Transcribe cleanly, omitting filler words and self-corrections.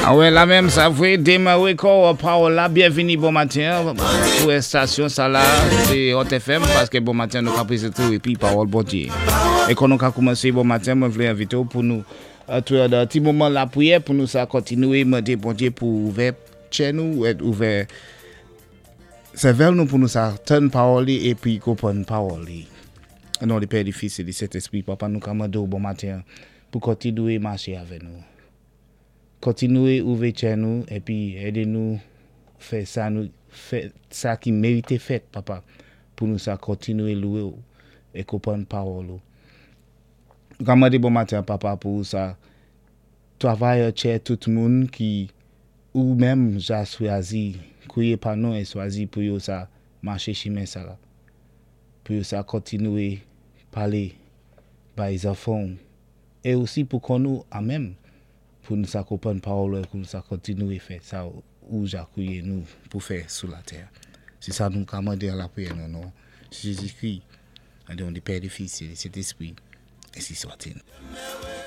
Awè la menm sa vwé démaré kò pawòl la. Byenvini bon maten pou estasyon sa la sé Hot FM paské bon maten nou ka prézenté ou épi pawòl Bondyé. É kon nou ka koumansé bon maten mwen vlé envité ou pou nou antré nan ti moman lapriyè pou nou sa kontinwé mandé Bondye pou ouvè tchè nou ouvè sèvèl nou pou nou sa tann pawòl li épi konprann pawòl li. O non di Pè di Fis é di Sentespri Papa nou ka mandé ou bon maten pou kontinwé maché avè nou. Kontinwe ouvè tchè nou epi ede nou fè sa nou fè sa ki merite fèt papa pou nou sa kontinwe louwe ou e konprann pawòl ou. Nou ka mande bon maten an papa pou ou sa travay tchè tout moun ki ou menm ja swazi kouye pa non e swazi pou yo sa mache chimen sa la pou yo sa kontinwe pale bay zanfan ou E osi pou kò nou a menm, pou nou sa konprann pawòl ou e pou nou sa kontinwe fè sa ou ja kouye nou pou fè sou latè. Se sa nou ka mande an lapriyè nan non Jezikri, an non di Pè, di Fis e di Sentespri, ensi swatil.